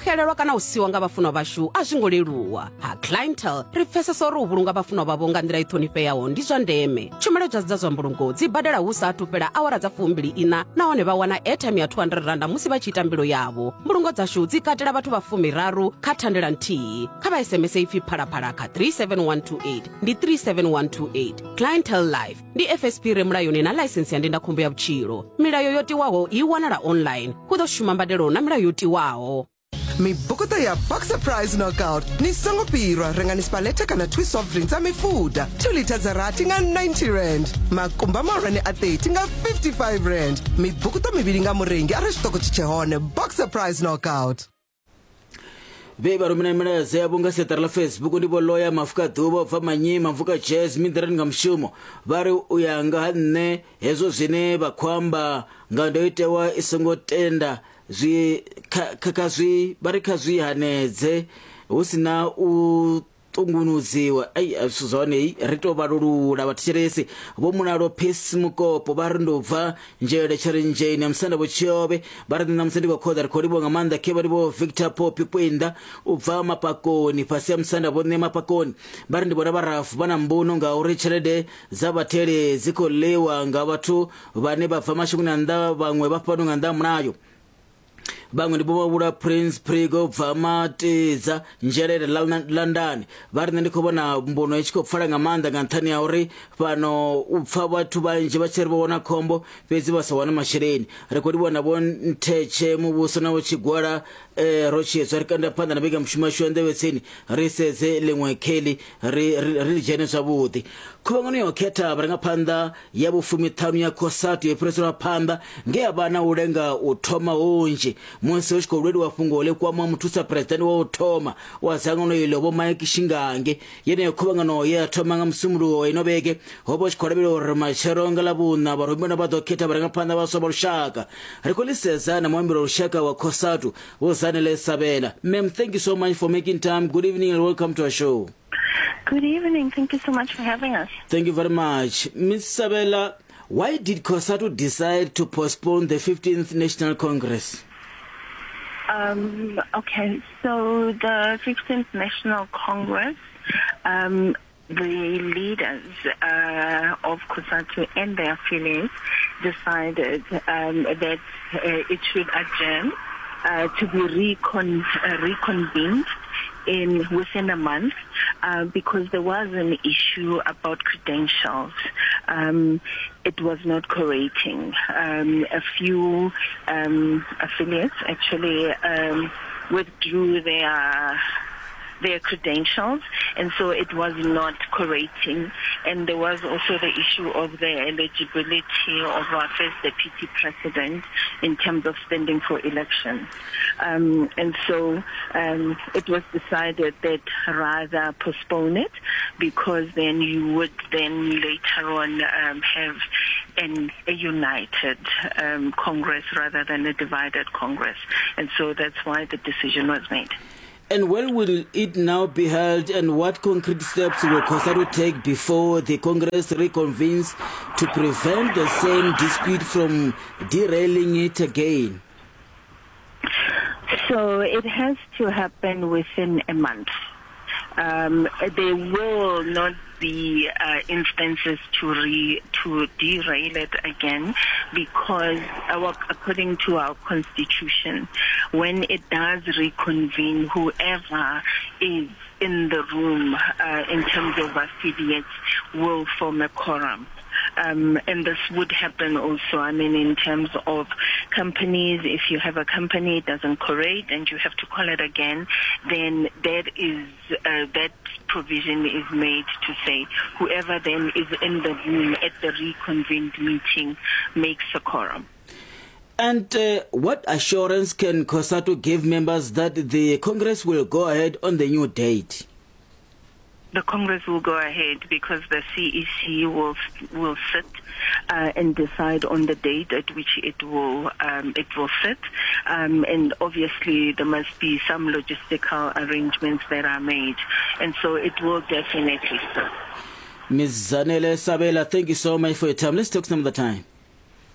Xelelwa kana u siwa nga vhafunwa vhashu a zwi ngo leluwa. Ha Clientele ri pfesesa uri u vhulunga vhafunwa vhavho nga nḓila i ṱhonifheaho ndi zwa ndeme. Tshumelo dza dza zwa mbulungo dzi badela hu sa athu fhela awara dza fumbili iṋa nahone vha wana airtime ya 200 randa musi vha tshi ita mbilo yavho. Mbulungo dzashu dzi katela vhathu vha fumiraru kha thandela nthihi. Kha vha SMS ipfi phalaphala kha 37128 ndi 37128. Clientele Life ndi FSP re mulayoni na ḽaisensi ya ndindakhombo ya vhutshilo. Milayo yo tiwaho i wanala online. Hu ḓo shuma mbadelo na milayo yo tiwaho. Mibukuṱo ya Boxer Prize Knockout ni songo fhirwa rengani spaleta kana 2 soft drink dza mifuda 2 litha dza rathi nga 90 rand makumba mahulwane a 30 nga 55 rand mibukuṱo mivhili nga murengi arali tshiṱoko tshi tshe hone Boxer Prize Knockout. Vhe vha rumela milaedza yavho nga siaṱari ḽa Facebook ndi vho Loya Mafuka Ḓuvha u bva Manyima Mvuka Jazz Miḓirani nga mushumo vha ri u ya nga ha nṋe hezwo zwine vha khou amba nga ndo itewa i songo tenda zwi kha, kha, kha zwi vha ri kha zwi hanedze hu si na u ṱungunudziwa ai a zwithu zwa hone ri tou vhalulula vhathetshelesi vho mulalo peace mukopo vha ri ndo bva nzhele tshirinzheni ya musanda vho tshiovhe vha ri nṋe ṋamusi ndi khou khoḓa ri khou livhuwa nga maanḓa khe vha ri vho victor poppy kwinda u bva mapakoni fhasi ya musanda vho ṋe mapakoni vha ri ndi vhona vharafu vha na mbuno ngauri tshelede dza vhatheli dzi khou ḽiwa nga vhathu vhane vha bva mashangoni a nnḓa vhaṅwe vha fhano nga nnḓa ha mulayo vhaṅwe ndi vho prince prigo bva matidza nzhelele landani vha ri nṋe ndi khou vhona mbuno i tshi khou pfala nga maanḓa nga nṱhani ha uri fhano u pfa vhathu vhanzhi vha tshi ri vho wana khombo fhedzi vha sa wane masheleni ri khou livhuwa na vho nthetshe muvhuso na vho tshigwala eh, ro tshiedzwa ri kanda phanḓa na mbekanyamushumo yashu ya nḓevhe tsini ri sedze ḽiṅwe kheli ri ri dzhene zwavhuḓi khuvhangano ya u khetha vharangaphanḓa ya vhufumiṱhanu ya COSATU yo fhiriselwa phanḓa nge ya vha na u lenga u thoma hunzhi musi hu tshi khou lweliwa fhungo ḽi kwama muthusa phuresidennde wa u thoma wa dzangano iḽo Vho Mike Shingange. Yeneyo khuvhangano ye ya thoma nga Musumbuluwo wa ino vhege ho vha hu tshi khou lavhelelwa uri matshelo nga Ḽavhuṋa vharumiwa vha ḓo khetha vharangaphanḓa vhaswa vha lushaka. Ri khou ḽi sedza na muambeli wa lushaka wa COSATU Vho Zanele Sabela. Ma'am, thank you so much for making time. Good evening and welcome to our show. Good evening. Thank you so much for having us. Thank you very much. Ms. Sabela, why did COSATU decide to postpone the 15th National Congress? Okay, so the 15th National Congress, the leaders of COSATU and their affiliates decided that it should adjourn to be reconvened in within a month because there was an issue about credentials. It was not cooperating. A few affiliates actually withdrew their credentials, and so it was not cooperating. And there was also the issue of the eligibility of our first deputy president in terms of standing for election. And so it was decided that rather postpone it, because then you would then later on have a united Congress rather than a divided Congress. And so that's why the decision was made. And when will it now be held, and what concrete steps will COSATU take before the Congress reconvenes to prevent the same dispute from derailing it again? So it has to happen within a month. There will not be instances to derail it again, because according to our constitution, when it does reconvene, whoever is in the room in terms of affiliates will form a quorum. And this would happen also, in terms of companies. If you have a company, it doesn't correlate and you have to call it again, then that provision is made to say whoever then is in the room at the reconvened meeting makes a quorum. And what assurance can COSATU give members that the Congress will go ahead on the new date? The Congress will go ahead because the CEC will sit and decide on the date at which it will sit, and obviously there must be some logistical arrangements that are made, and so it will definitely sit. Miz Zanele Sabela, thank you so much for your time. Let's talk some other time.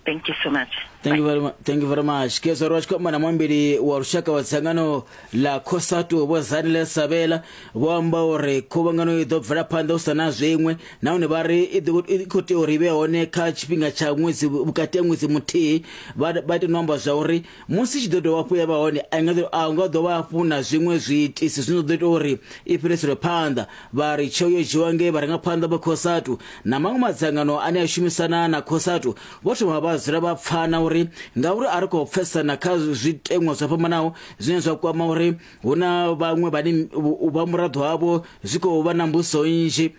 Thank you so much. Thank you very much. Thank you very much. Ke zwa tshi khou amba na muambeli wa lushaka wa dzangano ḽa Cosatu Vho Zanele Sabela vho amba uri khuvhangano i ḓo bvela phanḓa u sa na zwiṅwe nahone vha ri i ḓo i khou tea uri i vhe hone kha tshifhinga tsha ṅwedzi vhukati ha ṅwedzi muthihi vha vha ita no amba zwa uri musi i tshi ḓo dovha hafhu ya vha hone a nga ḓo a nga ḓo vha hafhu na zwiṅwe zwiitisi zwine zwa ḓo ita uri i fhiriselwe phanḓa Vha ri tsheo yo dzhiwa nge vharangaphanḓa vha Cosatu na maṅwe madzangano ane a shumisana na Cosatu vho thoma vha dzula vha pfana uri ngauri a ri khou pfesesana kha zwiteṅwa zwo fhambanaho zwine zwa kwama uri hu na vhaṅwe vhane u vha muraḓo havho zwi khou vha na mbudziso nnzhi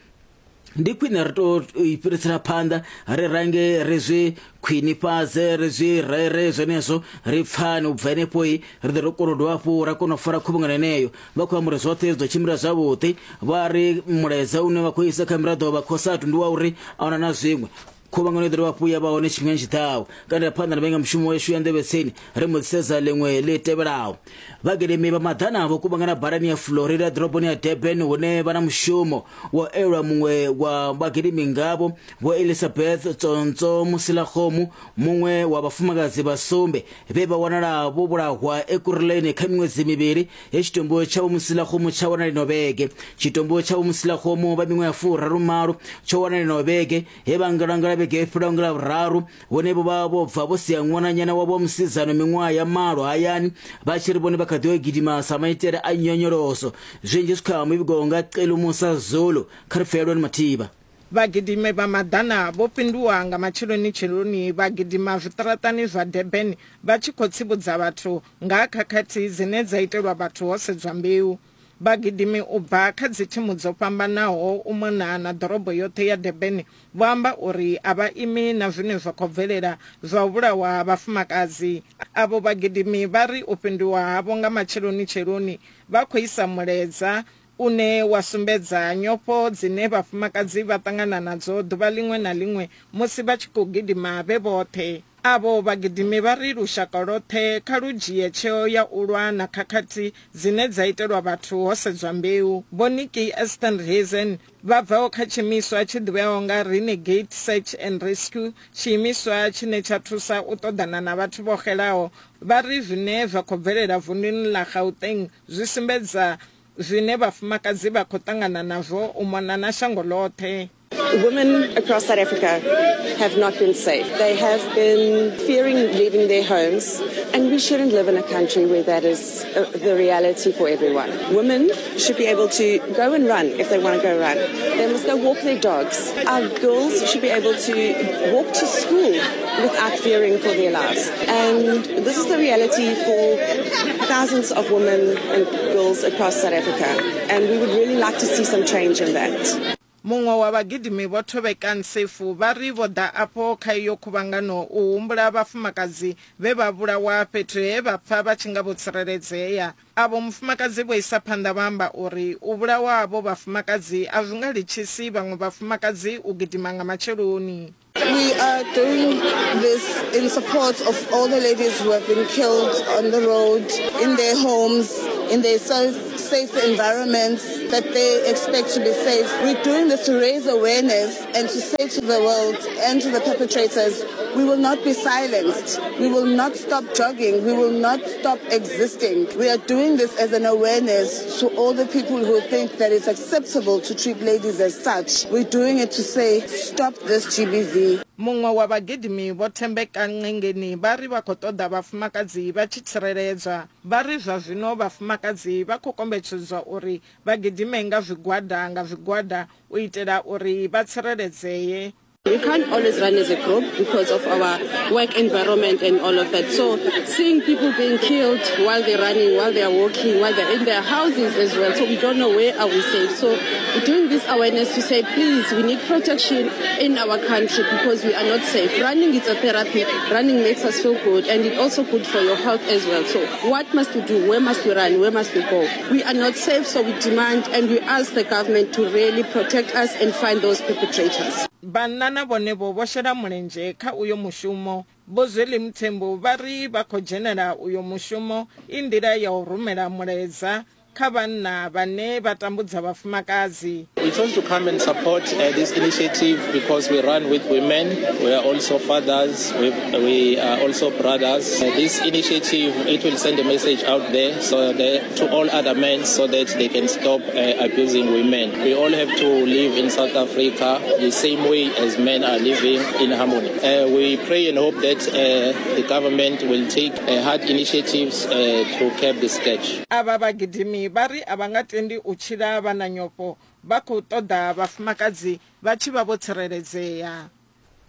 ndi khwine ri to i fhirisela phanḓa ri range ri zwi khwinifhadze ri zwi rere zwenezwo ri pfane u bva henefhoi ri ḓo ri kona u dovha hafhu ra kona u fara khuvhangano yeneyo vha khou amba uri zwoṱhe zwi ḓo tshimbila zwavhuḓi vha ri mulaedza une vha khou isa kha miraḓo vha cosatu ndi wa uri a huna na zwiṅwe khuvhangano i ḓo dovha hafhu ya vha hone tshifhingani tshiḓaho kandela phanḓa na vhengamushumo yashu ya nḓevhetseni ri mbo ḓi sedza ḽiṅwe ḽi tevhelaho Vhagidimi vha maḓana vho kuvhangana badani ya Florida ḓoroboni ya Durban hune vha na mushumo wa u elwa muṅwe wa vhagidimi ngavho Vho Elizabeth Tsontso Musilakgomu, muṅwe wa vhafumakadzi vha sumbe vhe vha wanala vho vhulahwa Ekurhuleni kha miṅwedzi mivhili he tshitumbu tsha Vho Musilakgomu tsha wanala ino vhege. Tshitumbu tsha Vho Musilakgomu vha miṅwaha ya 38 tsho wanala ino vhege he vha ngalangala vhege yo fhelaho nga Ḽavhuraru Vhone vho vha vho bva vho sia ṅwananyana wavho wa musidzana miṅwaha ya malo hayani vha tshi ri vhone vha kha ḓi yo gidima sa maitele a nyonyoloso. Zwinzhi zwi kha muvhigo nga Celumusa Zulu. Kha ri pfe Lwani Mathivha. Vhagidimi vha maḓana vho fhinduwa nga matsheloni-tsheloni vha gidima zwiṱaraṱani zwa Durban vha tshi khou tsivhudza vhathu nga ha khakhathi dzine dza itelwa vhathu ho sedzwa mbeu. Vhagidimi u bva kha dzithimu dzo fhambanaho u mona na ḓorobo yoṱhe ya Durban vho amba uri a vha imi na zwine zwa khou bvelela zwa u vhulawa ha vhafumakadzi. Avho vhagidimi vha ri u fhinduwa havho nga matsheloni-tsheloni vha khou isa mulaedza une wa sumbedza nyofho dzine vhafumakadzi vha ṱangana nadzo ḓuvha ḽiṅwe na ḽiṅwe musi vha tshi khou gidima vhe vhoṱhe. Avho vhagidimi vha ri lushaka lwoṱhe kha lu dzhie tsheo ya u lwa na khakhathi dzine dza itelwa vhathu ho sedzwa mbeu. Vho Nikki Esterhuizen vha bvaho kha tshiimiswa tshi ḓivheaho nga Renegade Search and Rescue, tshiimiswa tshine tsha thusa u ṱoḓana na vhathu vho xelaho, vha ri zwine zwa khou bvelela vunḓuni ḽa Gauteng zwi sumbedza zwine vhafumakadzi vha khou ṱangana nazwo u mona na shango ḽoṱhe. Women across South Africa have not been safe. They have been fearing leaving their homes, and we shouldn't live in a country where that is uh, the reality for everyone. Women should be able to go and run if they want to go run. They must go walk their dogs. Our girls should be able to walk to school without fearing for their lives. And this is the reality for thousands of women and girls across South Africa. And we would really like to see some change in that. Muṅwe wa vhagidimi Vho Thobeka Nsefu vha ri vho ḓa afho kha iyo khuvhangano u humbula vhafumakadzi vhe vha vhulawa fhethu he vha pfa vha tshi nga vho tsireledzea. Avho mufumakadzi vho isa phanḓa vha amba uri u vhulawa havho vhafumakadzi a zwi nga litshisi vhaṅwe vhafumakadzi u gidima nga matsheloni. We are doing this in support of all the ladies who have been killed on the road, in their homes, in their safe, safe environments that they expect to be safe. We're doing this to raise awareness and to say to the world and to the perpetrators, we will not be silenced. We will not stop jogging. We will not stop existing. We are doing this as an awareness to all the people who think that it's acceptable to treat ladies as such. We're doing it to say, stop this GBV. Muṅwe wa vhagidimi Vho Thembeka Nqengeni vha ri vha khou ṱoḓa vhafumakadzi vha tshi tsireledzwa. Vha ri zwa zwino vhafumakadzi vha khou kombetshedzwa uri vha gidime nga zwigwada nga zwigwada u itela uri vha tsireledzee. We can't always run as a group because of our work environment and all of that. So seeing people being killed while they're running, while they're walking, while they're in their houses as well. So we don't know where are we safe. So we're doing this awareness to say, please, we need protection in our country because we are not safe. Running is a therapy. Running makes us feel good and it's also good for your health as well. So what must we do? Where must we run? Where must we go? We are not safe, so we demand and we ask the government to really protect us and find those perpetrators. Vhanna na vhone-vho vho shela mulenzhe kha uyo mushumo. Vho Zweli Mthembu vha ri vha khou dzhenela uyo mushumo i nḓila ya u rumela mulaedza kha vhanna vhane vha tambudza vhafumakadzi. We chose to come and support uh, this initiative because we run with women. We are also fathers. We, we are also brothers. Uh, this initiative, it will send a message out there so that, to all other men so that they can stop uh, abusing women. We all have to live in South Africa the same way as men are living in harmony. Uh, we pray and hope that uh, the government will take uh, hard initiatives uh, to curb the scourge. Avha vhagidimi vha ri a vha nga tendi u tshila vha na nyofho, vha khou ṱoḓa vhafumakadzi vha tshi vha vho tsireledzea.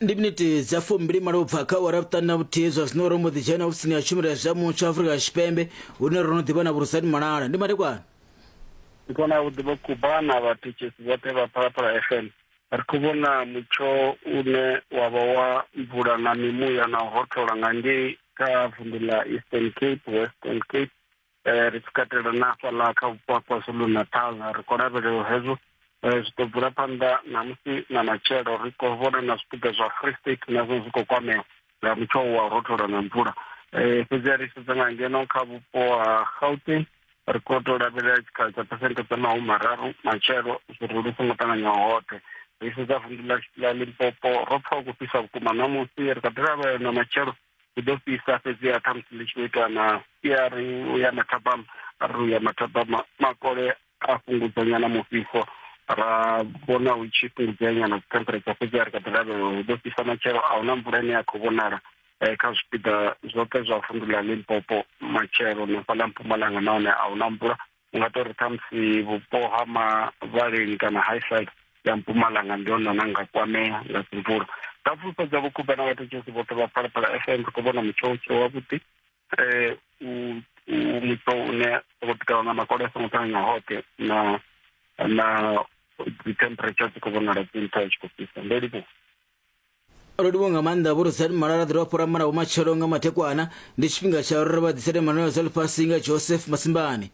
Ndi miniti dza 28 u bva kha awara ya vhuṱanu na vhuthihi zwa zwino ro mbo ḓi dzhena ofisini ya tshumelo ya zwa mutsho Afrika Tshipembe hune ro no ḓi vha na Vhurusani Malala. Ndi madekwana. Ndi kona u ḓivha Kuba na vhathetshelesi vhoṱhe vha Phalaphala FM. Ri khou vhona mutsho une wa vha wa mvula na mimuya na u rothola nga ngei kha vunḓu ḽa Eastern Cape, Western Cape eh, ri tshi katela na hafhaḽa kha vhupo ha KwaZulu-Natal. Ri khou lavhelela hezwo eh, zwi ḓo bvela phanḓa ṋamusi na matshelo. Ri khou vhona na zwipiḓa zwa Free State nazwo zwi khou kwamea nga mutsho wa u rothola na mvula. Eh, fhedzi ri sedza nga ngeno kha vhupo ha Gauteng ri khou tou lavhelela tshikhala tsha phesenthe dza 30 matshelo zwirulu zwi songo ṱanganywaho hoṱhe. Ri sedza vunḓu ḽa Limpopo ro pfa hu khou fhisa vhukuma ṋamusi ri kha ḓi lavhelela na matshelo hu ḓo fhisa fhedziha ṱhamusi ḽi tshi vho ita na siari u ya mathabama arali u ya mathabama makole a fhungudza nyana mufhiso ra vhona hu tshi fhungudzea nyana dzi temperature fhedziha ri kha ḓi lavhelela hu ḓo fhisa matshelo a huna mvula ine ya khou vhonala eh, kha zwipiḓa zwoṱhe zwa vunḓu ḽa Limpopo matshelo na fhaḽa Mpumalanga nahone a huna mvula u nga tori ṱhamusi vhupo ha Mavhaleni kana Highside ya Mpumalanga ndi hone hune nga kwamea nga dzimvula. Nga fulufhedza vhukuma na vhathetshelesi vhoṱhe vha Phalaphala FM ri khou vhona mutsho u tshe wavhuḓi eh, u mutsho une wo ḓikala na makole a songo ṱanganya hoṱhe na na dzi temperature dzi khou vhonala dzi nṱha tshi khou fhisa ndo livhuwa. Ro livhuwa nga maanḓa Vho Rosani Malala ḓirwa fhura mara vhomatshelo nga mathekwana ndi tshifhinga tsha uri ri vha ḓisele manwelo dza ḽifhasi nga Joseph Masimbani.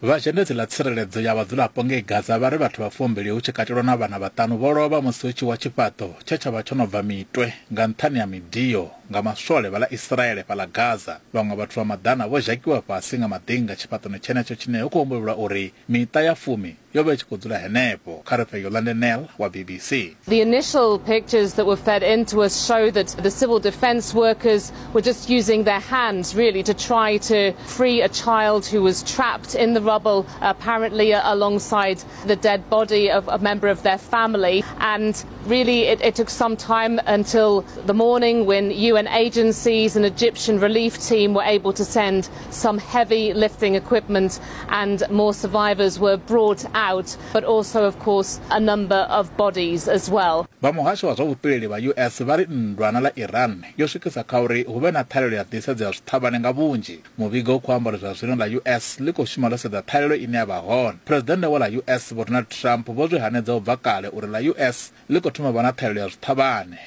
Vha zhendedzi ḽa tsireledzo ya vhadzulapo ngei Gaza vha ri vhathu vha fumbili hu tshi katelwa na vhana vhaṱanu vho lovha musi hu tshi wa tshifhaṱo tshe tsha vha tsho no bva mitwe nga nṱhani ha midio nga maswole vha ḽa Israele fhaḽa Gaza. Vhaṅwe vhathu vha maḓana vho zhakiwa fhasi nga maḓinga tshifhaṱoni tshenetsho tshine hu khou humbulelwa uri Miṱa ya fumi yo vha i tshi khou dzula henefho. Kha ri pfe Yolande Nel wa BBC. The initial pictures that were fed into us show that the civil defense workers were just using their hands really to try to free a child who was trapped in the rubble, apparently alongside the dead body of a member of their family. And really it, it took some time until the morning when UN agencies and Egyptian relief team were able to send some heavy lifting equipment and more survivors were brought out, but also, of course, a number of bodies as well. Vha muhasho wa zwa vhupileli vha US vha ri nndwa na ḽa Iran yo swikisa kha uri hu vhe na ṱhahelelo ya nḓisedzo ya zwiṱhavhane nga vhunzhi. Muvhigo u khou amba uri zwa zwino ḽa US ḽi khou shuma ḽo sedza ṱhahelelo ine ya vha hone. Phresidennde wa ḽa US Vho Donald Trump vho zwi hanedza u bva kale uri ḽa US ḽi khou thoma u vha na ṱhahelelo ya zwiṱhavhane.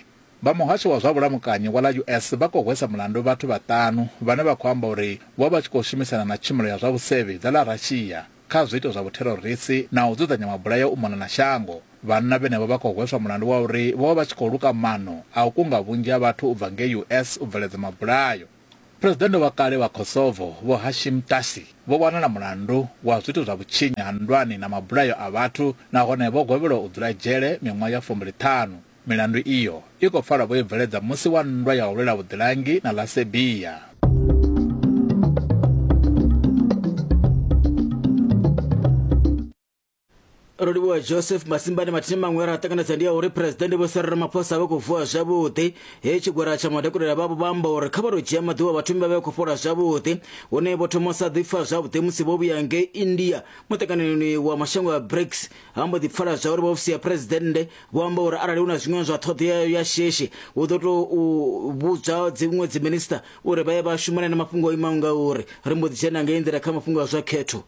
Vha muhasho wa zwa vhulamukanyi wa ḽa US vha khou hwesa mulandu vhathu vhaṱanu vhane vha khou amba uri vho vha vha tshi khou shumisana na tshumelo ya zwa vhusevhi dza ḽa Russia kha zwiito zwa vhutherorisi na u dzudzanya mabulayo u mona na shango. Vhanna vhenevho vha khou hweswa mulandu wa uri vho vha vha tshi khou luka maano a u kunga vhunzhi ha vhathu u bva ngei US u bveledza mabulayo. Phresidennde wa kale wa Kosovo Vho Hashim Thaçi vho wanala mulandu wa zwiito zwa vhutshinyi ha nndwani na mabulayo a vhathu nahone vho gwevhelwa u dzula dzhele miṅwaha ya 25. Milandu iyo i khou pfala vho i bveledza musi wa nndwa ya u lwela vhuḓilangi na ḽa Serbia. Ro livhuwa Joseph Masimbane. Mathina maṅwe ra ṱanganedza ndi ya uri Phresidennde Vho Cyril Ramaphosa vha khou vuwa zwavhuḓi. He tshigwada tsha madokotela vhavho vha amba uri kha vha tou dzhia maḓuvha vhathu vha vhe khou fhola zwavhuḓi, hune vho thoma u sa ḓipfa zwavhuḓi musi vho vhuya ngei India muṱanganoni wa mashango a BRICS. Ha mbo ḓi pfala zwa uri vha ofisi ya Phresidennde vho amba uri arali hu na zwiṅwe zwa ṱhoḓea ya shishi hu ḓo tou vhudzwa dziṅwe dziminisiṱa uri vha ye vha shumane na mafhungo o imaho nga uri. Ri mbo ḓi dzhena ngei nḓila kha mafhungo a zwa khetho.